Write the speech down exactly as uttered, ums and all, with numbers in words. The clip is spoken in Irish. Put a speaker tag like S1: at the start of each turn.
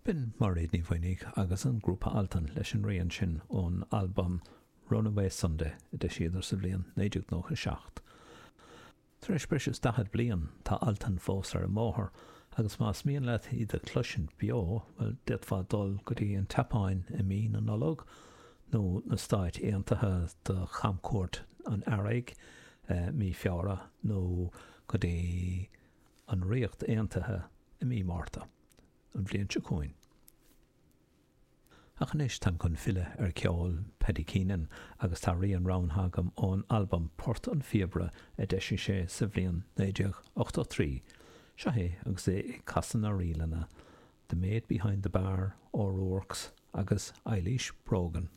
S1: B'in Mairéad Ní Mhaonaigh agus an grúpa Altan leis an rian sin ón albam Runaway Sunday a d'eisíodar sa bhliain naoi déag nócha seacht. Tar éis breis is daichead bliain, tá Altan fós ar an mbóthar agus más mian leat iad a chloisint beo, bhuel, d'fhéadfá dul go dtí an tSeapáin i mí na Nollag nó na Stáit Aontaithe do chamchuairt an Earraigh mí Feabhra nó go dtí an Ríocht Aontaithe i mí Márta. an bhliain seo chugainn. Ach anois táim chun filleadh ar cheol Paddy Keenan agus tá rian roghnaithe agam ón albam Port an Phíobaire a d'eisigh sé sa bhliain naoi déag ochtó trí. Seo é agus é ag casadh na ríleanna The Maid Behind the Bar, O'Rourke's agus Eilís Brogan.